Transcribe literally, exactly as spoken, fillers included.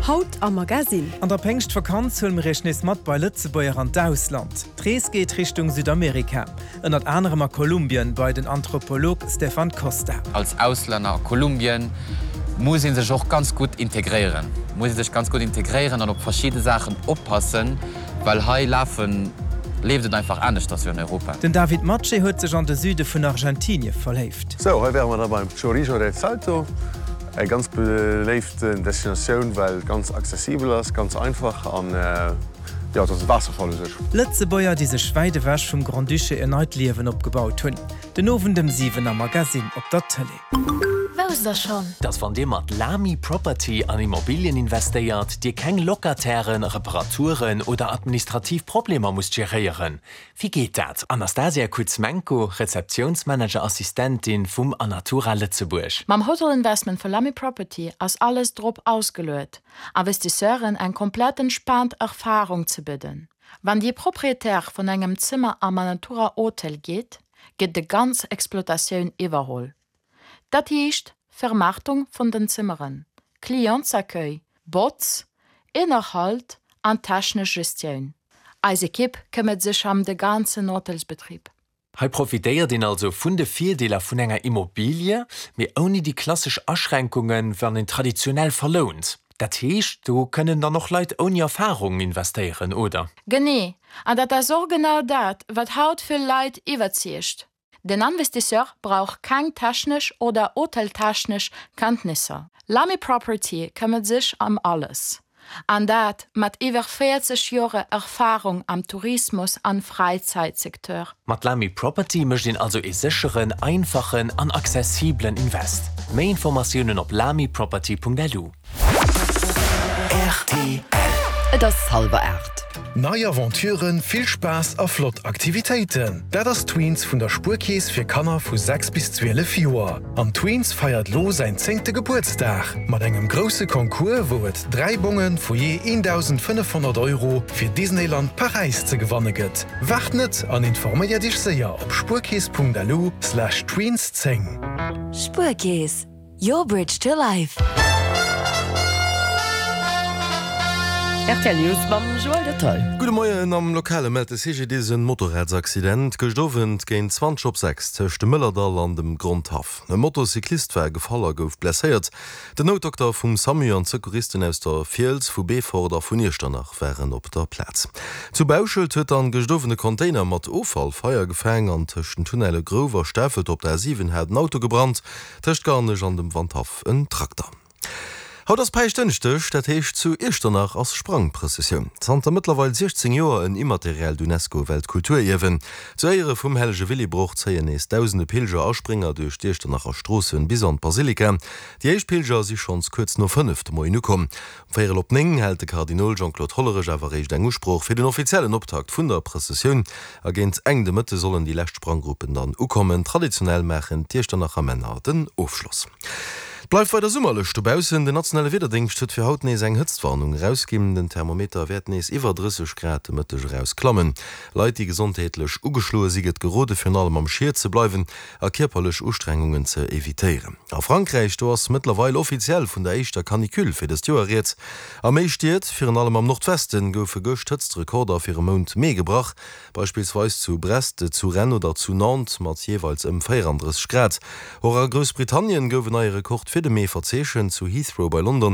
Haut am Magasinn. An der Péngschtvakanz huele mir iech nees mat bei Lëtzebuerger an d'Ausland. D'Rees geet Richtung Südamerika, ënnert anerem a Kolumbien bei den Anthropolog Stefan Costa. Als Auslänner a Kolumbien muss ee sech och ganz gutt integréieren, muss ee sech ganz gutt integréieren an op verschidde Saachen oppassen, well hei lafen, leeft et einfach aneschters wéi an Europa. Den David Matschi huet sech an de Süde vun Argentinie verléift. Sou, hei wäre mer da beim Chorrillo del Salto. Eng ganz beléiften Destinatioun, well et ganz accessibel ass, ganz einfach an jo, et ass e Waasserfall u sech. Lëtzebuerger, déi sech wäit ewech vum Grand-Duché en neit Liewen opgebaut hunn. Den Owend ëm siwen am Magasinn op der Tëlee. Wousst der schonn? Dass wann Dir mat Lamy Property an Immobilien investéiert, Dir keng Locatairen, Reparaturen oder administrativ Problemer musst geréieren? Wéi geet dat? Anastasia Kuzmenko, Rezeptiounsmanager-Assistentin vum Anatura Lëtzebuerg. Mam Hotel Investment vu Lamy Property ass alles drop ausgeluet, Investisseuren eng komplett entspaant Erfarung ze bidden. Wann Dir Proprietär vun engem Zëmmer am Anatura Hotel gitt, gëtt déi ganz Exploitatioun iwwerholl. Dat heescht Vermaartung vun den Zëmmeren, Clientsaccueil, Botz, Ënnerhalt an technesch Gestioun. Eis Ekipp këmmert sech ëm de ganzen Hotelsbetrib. Hei profitéiert een also vun de Virdeeler vun enger Immobilie, mee ouni déi klassesch Aschränkungen, wann een traditionell verlount. Dat heescht, do kënnen dann och Leit ouni Erfarung investéieren, oder? Genee, an dat ass och genau dat, wat haut vill Leit iwwerzeegt. Den Investisseur brauch keng technesch oder hoteltechnesch Kenntnisser. Lamy Property këmmert sech ëm alles. An dat mat iwwer véierzeg Joer Erfarung am Tourismus an Fräizäitsecteur. Mat Lamy Property mécht een also ee sécheren, einfachen an accessibelen Invest. Méi Informatiounen op lamyproperty.lu. Rtl. Et ass hallwer aacht. Nei Aventuren, vill Spaass a flott Aktivitéiten, dat ass Tweens vun der Spuerkeess fir Kanner vu sechs bis zwielef Joer. An Tweens feiert lo säin zéngte Gebuertsdag mat engem grousse Concours, wou et dräi Bonge vu jee eendausendfënnefhonnert Euro fir Disneyland Paräis ze gewanne gëtt. Waart net an informéier dech séier op spuerkeess.lu slash tweens zéng. Spuerkeess, your bridge to life. Rtl News mam Joël Detail. Gudde Moien, Am Lokale mellt de C G D S en Motorradsaccident gëscht Owend géint zwanzeg op sechs tëscht dem Mëllerdall an dem Grondhaff. E Motocyclist war gefall a gouf blesséiert. Den Noutdokter vum SAMU an d'Secouristen aus der Fiels, vu Beefort a vun Iechternach waren op der Plaz. Zu Bauschelt huet dann gëscht Owend e Container mat Offall Feier gefaang an tëscht den Tunnelle Grouw a Stafelt op der A siwen hat en Auto gebrannt, tëscht Garnech an dem Wandhaff en Trakter. Haut ass Päischtdënschdeg, dat heescht zu Iechternach ass Sprangprëssessioun. Zanter mëttlerweil siechzéng Joer en immateriellt Unesco-Weltkulturierwen. Zu Éiere vum hellege Willibrord zéien nees dausende Pilger a Sprénger duerch d'Iechternacher Stroossen bis an d'Basilika. Déi éischt Pilger si schonns kuerz no fënnef de Moien ukomm. Um véierel op néng hält de Kardinol Jean-Claude Hollerech awer eréischt eng Usprooch fir den offiziellen Optakt vun der Prëssessioun. A géint eng de Mëtte sollen déi lescht Spranggruppen dann ukommen. Traditionell maachen d'Iechternacher Männer den Ofschloss. Et bleift weider summerlech dobaussen. Den nationale Wiederdéngscht huet fir haut nees eng Hëtztwarnung erausginn. Den Thermometer wäert nees iwwer drësseg Grad de Mëtteg eraus klammen. Leit, déi gesondheetlech ugeschloe si gëtt gerode virun allem am Schiet ze bleiwen a kierperlech Ustrengungen ze evitéieren. A Frankräich, do ass mëttlerweil offiziell vun der éischter Canicule fir dëst Joer rieds. A méi Stied, virun allem am Nordwesten, goufe gëscht Hëtztrekorder fir e Mount Mee gebrach, beispillsweis zu Brest, zu Rennes oder zu Nantes mat jeeweils ëm véierandrësseg Grad. Och a Groussbritannien gouf en neie Rekord fir de Mee verzeechent, zu Heathrow bei London.